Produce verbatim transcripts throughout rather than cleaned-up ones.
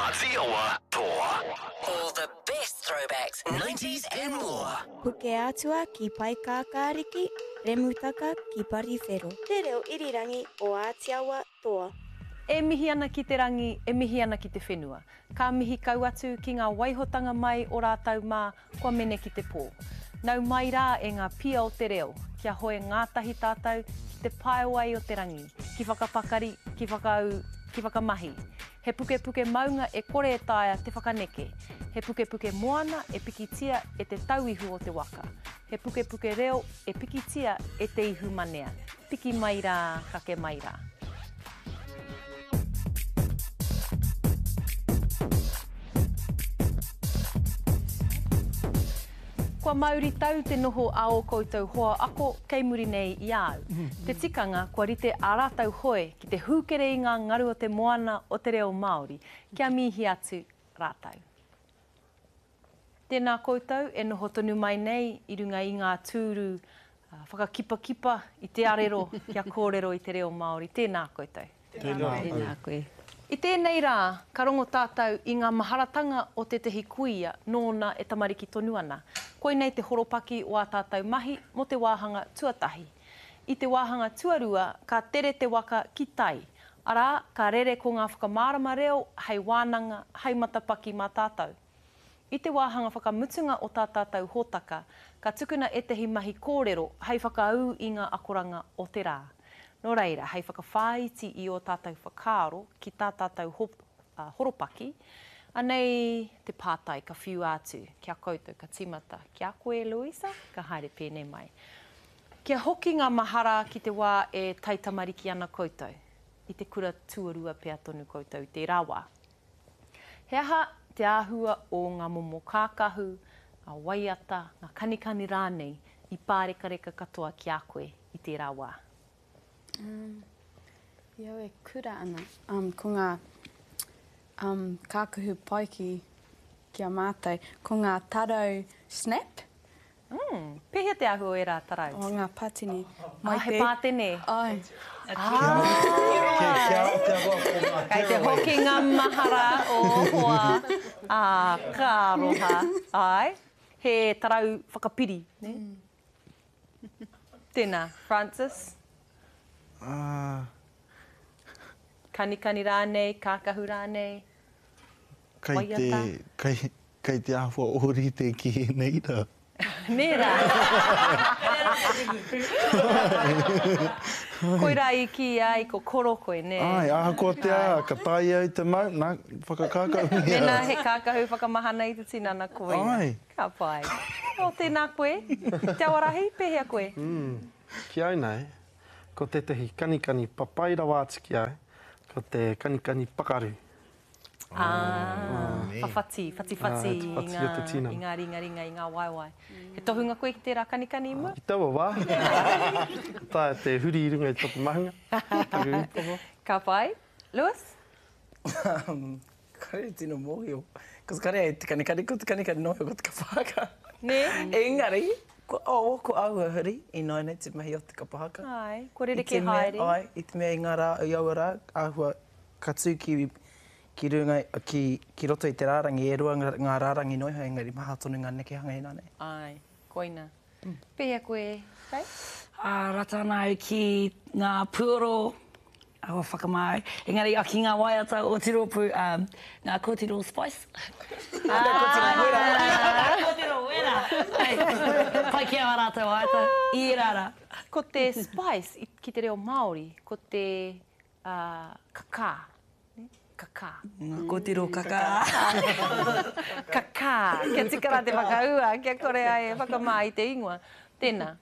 Āti Awa Toa. All the best throwbacks, nineties and more. Pukeatua ki Paekākāriki, Remutaka ki Pariwhero. Te reo irirangi o Ātiawa Toa. E mihi ana ki te rangi, e mihi ana ki te whenua. Ka mihi kau atu ki ngā waihotanga mai o rātou mā kua mene ki te pō. Nau mai rā e ngā pia o te reo, kia hoe ngātahi tātou ki te paewai o te rangi, ki whakapakari, ki whakaū, ki whakamahi. He pukepuke maunga e kore e taea te whakaneke. He pukepuke moana e pikitia e te tauihu o te waka. He pukepuke reo e pikitia e te ihu manea. Piki mai rā, kake mai rā. Kua mauri tau te noho a ō koutou hoa ako kei muri nei i a au. Te tikanga kua rite ā rātou hoe ki te hūkere i ngā ngaru o te moana o te reo Māori, kia mihi atu rātou. Tēnā koutou e noho tonu mai nei i runga i ngā tūru whakakipakipa i te arero kia kōrero i te reo Māori. Tēnā koutou. Tēnā, Tēnā koe. I tēnei rā, ka rongo tātou i ngā maharatanga o tētehi kuia nōna e tamariki tonu ana. Koinei te horopaki o ā tātou mahi mō te wāhanga tuatahi. I te wāhanga tuarua, ka tere te waka ki tai. Arā, ka rere ko ngā whakamārama reo hei wānanga, hei matapaki mā tātou. I te wāhanga whakamutunga o tā tātou hōtaka, ka tukuna ētehi mahi kōrero hei whakaū i ngā akoranga o te rā. Nō reira, hei whakawhāiti i ō tātou whakaaro ki tā tātou horopaki, anei te pātai ka whiua atu ki a koutou, ka tīmata ki a koe, Louisa, ka haere pēnei mai. Kia hoki ngā mahara ki te wā e taitamariki ana koutou, i te kura tuarua pea tonu koutou i tērā wā. He aha te āhua o ngā momo kākahu, ngā waiata, ngā kanikani rānei i pārekareka katoa ki a koe i tērā wā? Um, i au e kura ana, um, ko ngā um, kākahu pai ki, ki a mātou, ko ngā tarau snap. Mm, pēhea te āhua o ērā tarau? O ngā pātene. Ah, he pātene. Ai. Kei te hoki ngā mahara o hoa. Ā, ka aroha. Ai, he tarau whakapiri. Ne? Mm. Tēnā, Francis? Ah. Kanikani rānei, kākahu rānei, Kei te, waiata. kei, kei te āhua ōrite ki ēnei rā. Nē rā. Koirā i kīia ai ko koro koe, nē? Ai, ahakoa te aha, ka taea au te mau, nā, whakakākahungia. Mēnā he kākahu whakamahana i te tinana koia. Ai. Ka pai. O, tēnā koe. Te Awarahi, pēhea koe? Mm, ki au nei, ko tētehi kanikani papai rawa atu ki au, ko te kanikani pakaru. Ah, whawhati, whatiwhati Ah, te whati i o te ngā, tinana. i ngā ringaringa, i ngā waewae. He tohunga koe ki tērā kanikani i mua? I taua wā, ka taea te huri i runga i taku mahunga, taku upoko. Ka pai. Lewis? Um, kare tino mōhio. Cos kare ai te kanikani, ko te kanikani noho ko te kapahaka. Nē? Engari, ko, oh, ko āhua huri, i nāianei te mahi o te kapahaka. Ai, kua rerekē I te mea, haere. Ai, i te mea i ngā rā, i aua rā, āhua ka tū ki, ki runga, ki, ki roto i te rārangi, e rua ngā, ngā rārangi noiho, engari maha tonu ngā nekehanga i nāianei. Ai, koina. Pēhea koe, Faye? Ā, rata ana au ki ngā puoro, awa whakamā au. Engari, a, ki ngā waiata o te rōpū, um, ngā kōtiro Spice. Ngā kōtiro wera. Ngā kōtiro wera. Ai, pai ki a rātou waiata, i ērā rā. Ko te Spice i, ki te reo Māori, ko te, uh, kakā. Kakā. Ngā kōtiro kakā. Kakā. Kia tika rā te whakaua, kia kore ai e whakamā i te ingoa. Tēnā.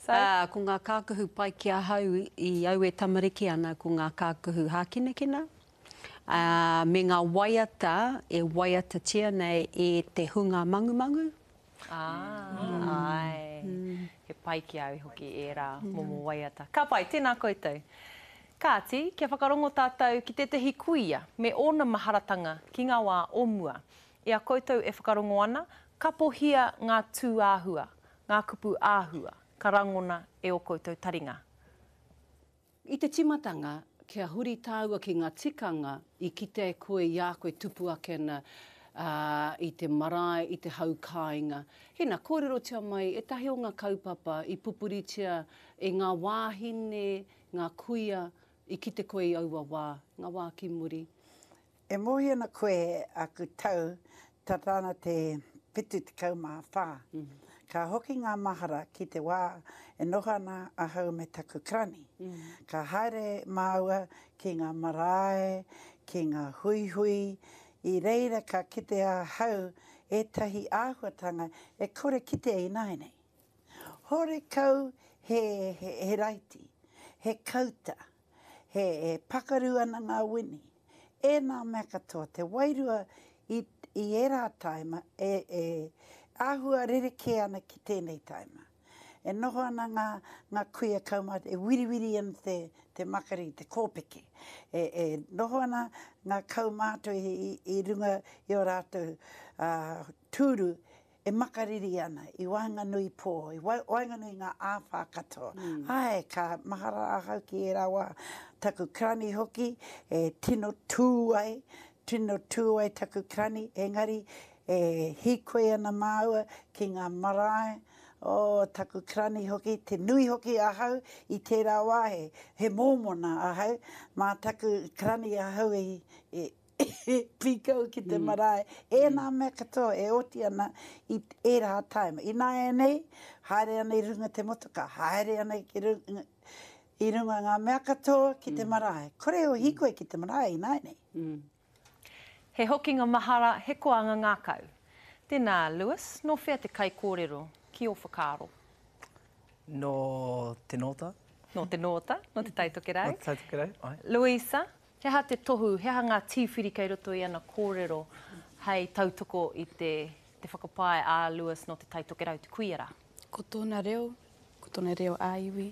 So? Uh, ko ngā kākahu pai ki ahau i au e tamariki ana, ko ngā kākahu hākinakina. Uh, me ngā waiata e waiatatia nei e te hunga mangumangu. Ah, ai. He pai ki au hoki ērā momo waiata. Ka pai, tēnā koutou. Kāti, kia whakarongo tātou ki tētehi kuia me ōna maharatanga ki ngā wā o mua. I a koutou e whakarongo ana, kapohia ngā tūāhua, ngā kupu āhua, ka rangona e ō koutou taringa. I te timatanga, kia huri tāua ki ngā tikanga i kite e koe i a koe tupu ake ana uh, i te marae, i te hau kāinga. Hena, kōrerotia mai ētahi o ngā kaupapa i pupuritia e ngā wāhine, ngā kuia, i kite koe i aua wā, ngā wā ki muri. E mōhio ana koe aku tau, tata ana te whitu tekau mā whā. Mm -hmm. Ka hoki ngā mahara ki te wā e noho ana ahau me taku karani. Mm -hmm. Ka haere māua ki ngā marae, ki ngā huihui, i reira ka kite ahau ētahi āhuatanga e kore kite ināianei. Horekau he, he, he raiti, he kauta, he, he pakaru ana ngā wini. E nā mea katoa, te wairua i, i ērā taima e, e āhua rerekē ana ki tēnei taima. E noho ana ngā, ngā kuia kaumātua, e wiriwiri ana te, te makari, te kōpeke. E, e noho ana ngā kaumātua i, i, i runga i o rātou uh, tūru, e makariri ana, i waenganui pō, i waenganui ngā āwhā katoa. Mm. Ai, ka mahara ahau ki ērā wā. Taku karani hoki, e tino tū ai, tino tū ai taku karani, engari e hīkoi ana māua ki ngā marae, o taku karani hoki, te nui hoki ahau i tērā wā, he, he mōmona ahau, mā taku karani ahau i, i pīkau ki te marae. E nā mea katoa e oti ana i ērā taima. Ināianei, haere ana i runga te motoka, haere ana ki runga, i runga ngā mea katoa ki te marae. Kore o hīkoi ki te marae ināianei. Mm. He hokinga mahara, he koanga ngākau. Tēnā, Lewis, nō whea te kaikōrero ki ō whakaaro? Nō te Nōta. Nō te Nōta, nō te Tai Tokerau. Nō te Tai Tokerau, ai. Louisa, he aha te tohu, he aha ngā tīwhiri kei roto i ana kōrero hei tautoko i te, te whakapae a Lewis nō te Tai Tokerau, te kuia rā? Ko tōna reo, ko tōna reo ā-iwi,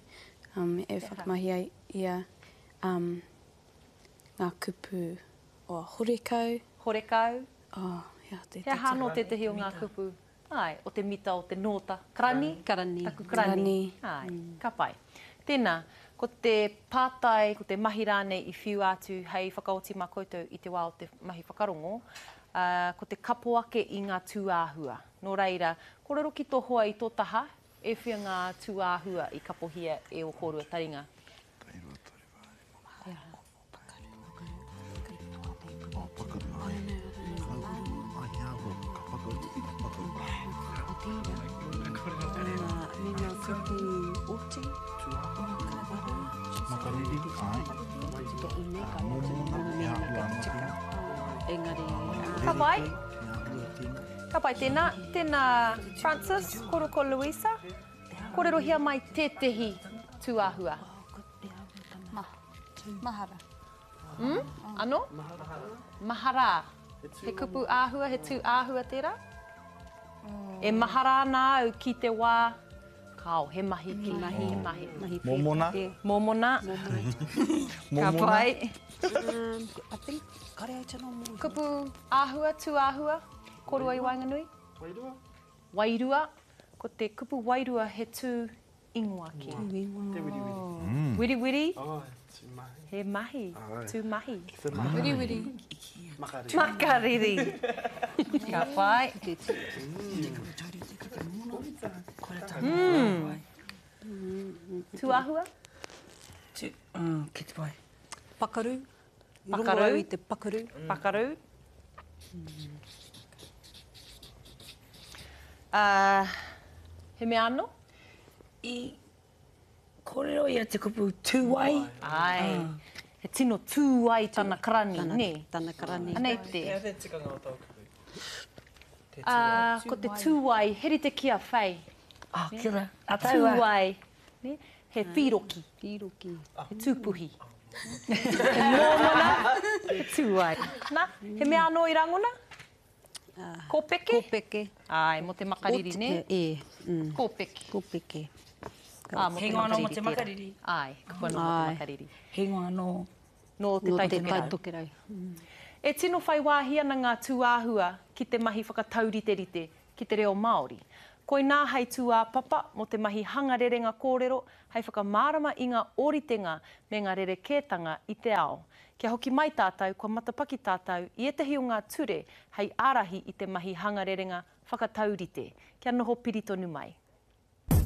um, e whakamahi ai ia um, ngā kupu o horekau. Horekau. Oh, he aha He aha anō tētahi o ngā kupu? Ai, o te mita, o te nōta. Karani? Karani. Taku karani. Ai, ka pai. Tēnā, ko te pātai, ko te mahi rānei i whiu atu hei whakaoti mā koutou i te wā o te mahi whakarongo, uh, ko te kapo ake i ngā tūāhua. Nō reira, kōrero ki tō hoa i tō taha, e whia ngā tūāhua i kapohia e o kōrua taringa. Makariri, ai. Mōmona, he āhua anō tēnā. Ka pai. Ka pai tēnā. Tēnā, Francis, koro ko Louisa. Kōrerohia mai tētehi tūāhua. Mahara. Mm? Anō? Mahara. He kupu āhua, he tū āhua tērā? E mahara ana au ki te wā, kao, he mahi ki, mahi, he mahi. Mōmona. Mōmona. Ka pai. Um, I think, kare au tino mōhio. Kupu āhua, tū āhua, korua i waenganui? Wairua. Wairua. Ko te kupu wairua he tū ingoa ki. Tū ingoa. Te wiriwiri. Mm. Wiriwiri. Oh, tū mahi. He mahi. Ai. Tū mahi. Te mahi. Wiriwiri. Makariri. Makariri. Ka pai. Mm. Tūāhua? Tū, uh, ki te pai. Pakaru. Pakaru. Rongo au i te pakaru. Pakaru. Uh, he mea anō? I kōrero ia te kupu tūwai. Ai. He tino tūwai tana karani, Tana, nē? tana karani. Anei te. He aha te tikanga o tō kupu? Te tūwai. Uh, ko te tūwai, he rite ki a Faye. Ah, kia ora. A taua. Tūwai. Ne? He whīroki. Whīroki. He tūpuhi. He mōmona, he tūwai. Nā, he mea anō i rangona? Kōpeke? Kōpeke. Ai, mō te makariri, nē? E, mm. Kōpeke. Kōpeke. Ah, mō He te ingoa anō mō te tērā. makariri. Ai, kupu anō mō te Ai. makariri. He ingoa anō. Nō te Nō Tai te Tokerau. Tai Tokerau. E tino whai wāhi ana ngā tūāhua ki te mahi whakatauriterite ki te reo Māori. Koinā hei tūāpapa mō te mahi hanga rerenga kōrero hei whakamārama i ngā ōritenga me ngā rerekētanga i te ao. Kia hoki mai tātou, kua matapaki tātou i ētahi o ngā ture hei ārahi i te mahi hanga rerenga whakataurite. Kia noho piri tonu mai.